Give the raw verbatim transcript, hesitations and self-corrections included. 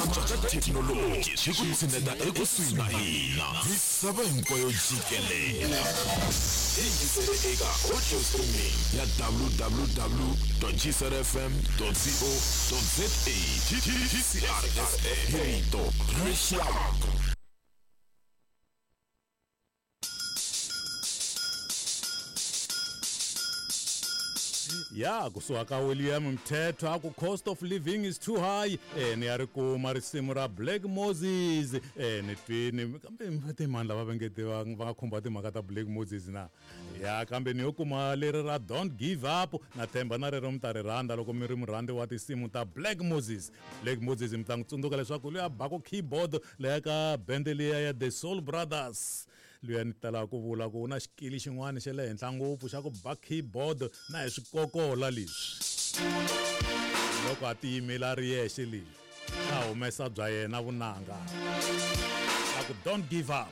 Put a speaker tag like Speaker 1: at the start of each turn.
Speaker 1: Ku cinca ka thekinoloji swi ku tshineta ekusuhi na hina. Misava hinkwayo jikelele. Yingisele eka audio streaming ya w w w gcrfm co za. G C R F M, hi rito ra rixaka.
Speaker 2: Ya kusuka ka William Mthetho a ku "Cost of living is too high". E ni ya ri kuma risimu ra Black Moses. E ni twini kambe timani lava va nge va va nga khumba timhaka ta Black Moses na ya, kambe ni yo kuma leri ra "Don't Give Up". Na themba na rero mi ta ri rhandza loko mi ri murhandzi wa tinsimu ta Black Moses. Black Moses, mi ta n'wi tsundzuka leswaku loyi a baku keyboard leya ka bende liya ya The Soul Brothers, luya ni talaka ku vula ku u na xikili xin'wana xa le henhla ngopfu xa ku ba keyboard na hi swikokola leswi. Loko a tiyimela a ri yexe, leswi a humesa bya yena vunanga a ku "Don't Give Up".